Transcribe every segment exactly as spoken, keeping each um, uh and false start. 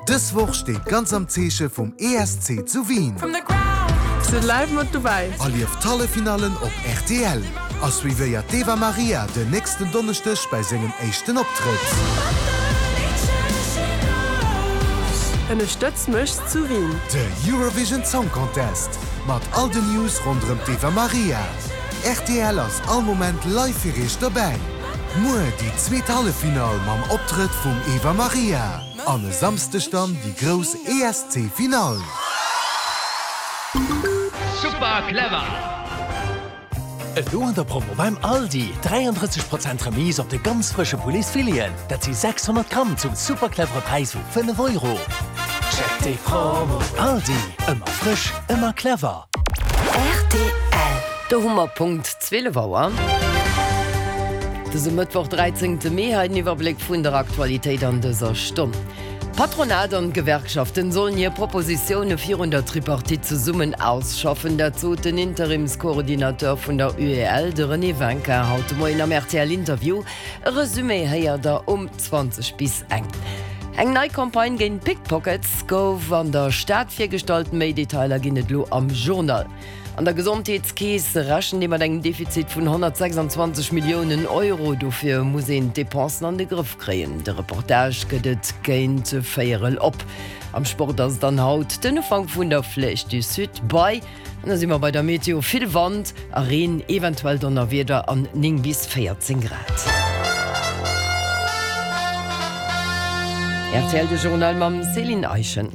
Dës Woch steet ganz am Zeeche vum E S C zu Wien. Sidd live mat dobäi. Erlieft d'Halleffinallen op R T L a suivéiert d'Eva Maria den nächsten Donneschdeg bei sengem éischten Optrëtt. Ënnerstëtz mech zu Wien. De Eurovision Song Contest mat all den News ronderëm d'Eva Maria. R T L ass all Moment live fir iech dobäi. Muer déi zweet Halleffinall mam Optrëtt vum Eva Maria. An e Samschdeg dann déi grouss E S C-Finall. Super clever! Elo an der Promo beim Aldi dräiandrësseg Prozent Remise op de ganz frësche Pouletsfileten. Dat si sechshonnert Gramm zum super clevere Präis vu fënnef Euro. Check déi Promo. Aldi, ëmmer frësch, ëmmer clever. R T L. Do hu mer Punkt zwielef Auer. Dëse Mëttwoch dräizéngte Mee hei den Iwwerbléck vun der Aktualitéit an dëser Stonn. Patronat an Gewerkschaften sollen hir Propositioune virun der Tripartite zesummen ausschaffen, dat sot den Interimscoordinateur vun der U E L, de René Winkin, haut de Moien am R T L Interview. E Resumé héiert der um zwanzeg bis eng. Eng nei Campagne géint Pickpockets gouf an der Stad virgestallt, méi Detailer ginn et lo am Journal. An der Gesondheetskeess rechent ee mat engem Defizit vun honnertsechsanzwanzeg Milliounen Euro, dofir muss een d'Depensen an de Grëff kréien. De Reportage gëtt et géint véierel op. Am Sport ass dann haut den Ufank vun der Flèche du Sud bei. An da si mer bei der Meteo, vill Wand a Reen, eventuell Donnerwieder an néng bis véierzéng Grad. R T L de Journal mam Céline Eischen.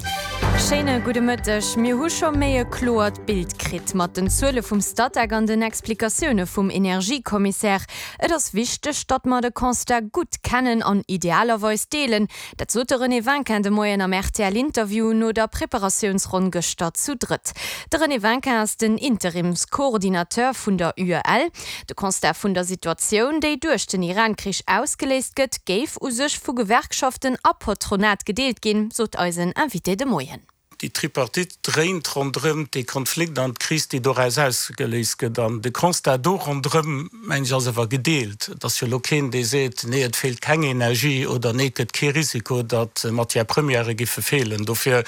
Schéine gudde Mëtteg. Mir hu scho méi e kloert Bild kritt mat den Zuele vum Statec an den Explikatioune vum Energiekommissär. Et ass wichteg, datt mer de Constat gutt kennen an idealerweis deelen. Dat sot de René Winkin de Moien am R T L Interview no der Preparatiounsronn gëschter zu drëtt. De René Winkin ass den Interimscoordinateur vun der U E L. De Constat vun der Situatioun, déi duerch den Iran-Krich ausgeléist gëtt, géif u sech vu Gewerkschaften a Patronat gedeelt ginn, sot eisen Invité de Moien. Déi Tripartite dréint ronderëm de Konflikt an d'Kris, déi doraus ausgeléist gëtt, an de Constat do ronderëm, mengen ech, ass awer gedeelt. Et ass jo lo keen, dee seet, nee, et feelt keng Energie oder nee, et gëtt kee Risiko, datt Matière première giffe feelen. Dofir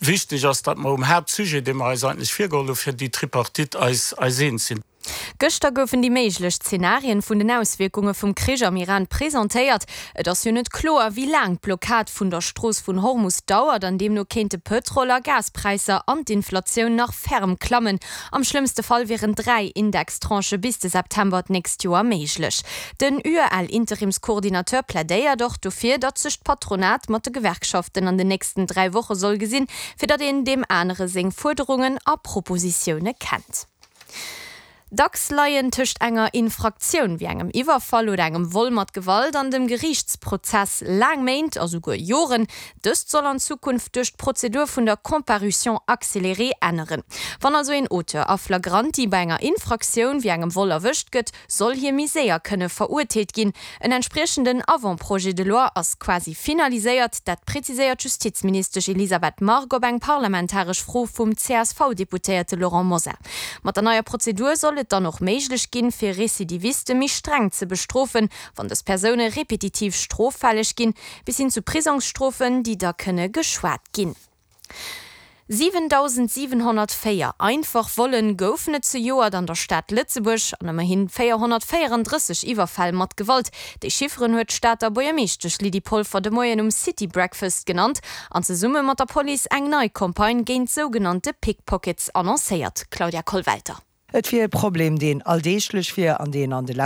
wichteg ass, datt mer um Haaptsujet, dee mer eis eigentlech virgeholl hu fir déi Tripartite, eis eis eens sinn. Gëschter goufen déi méiglech Zenarien vun den Auswierkunge vum Krich am Iran presentéiert. Et ass jo net kloer, wéi laang d'Blockad vun der Strooss vun Hormus dauert, an deemno kéinte Pëtrol- a Gaspräisser an d'Inflatioun nach ferm klammen. Am schlëmmste Fall wieren dräi Indextranchë bis de September d'nächst Joer méiglech. Den U E L-Interimscoordinateur plädéiert och dofir, datt sech d'Patronat mat de Gewerkschaften an den nächsten dräi Woche soll gesinn, fir datt een deem anere seng Fuerderungen a Propositioune kennt. Dacks leien tëscht enger Infraktioun wéi engem Iwwerfall oder engem Vol mat Gewalt an dem Geriichtsprozess laang Méint a souguer Joren. Dëst soll an Zukunft duerch d'Prozedur vun der Comparution accélérée änneren. Wann also een Auteur a flagranti bei enger Infraktioun wéi engem Vol erwëscht gëtt, soll hie méi séier kënne verurteelt ginn. En entspriechenden Avant-projet de loi ass quasi finaliséiert, dat präziséiert d'Justizministesch Elisabeth Margue op eng parlamentaresch Fro vum C S V-Deputéierte Laurent Mosar. Mat der neier Prozedur soll et dann och méiglech ginn, fir Rezidiviste méi streng ze bestrofen, wann dës Persoune repetitiv stroffälleg ginn, bis hin zu Prisongsstrofen, déi da kënne geschwat ginn. siwendausendsiwenhonnertvéier einfach Volle goufen et zejoert an der Stad Lëtzebuerg an ëmmerhi véierhonnertvéierandrësseg Iwwerfäll mat Gewalt. Déi Chifferen huet d'Stater Buergermeeschtesch Lydie Polfer de Moien um City Breakfast genannt an zesumme mat der Police eng nei Campagne géint sougenannte Pickpockets annoncéiert. Claudia Kollwelter. Et wier e Problem, deen alldeeglech wier an deen an de leschte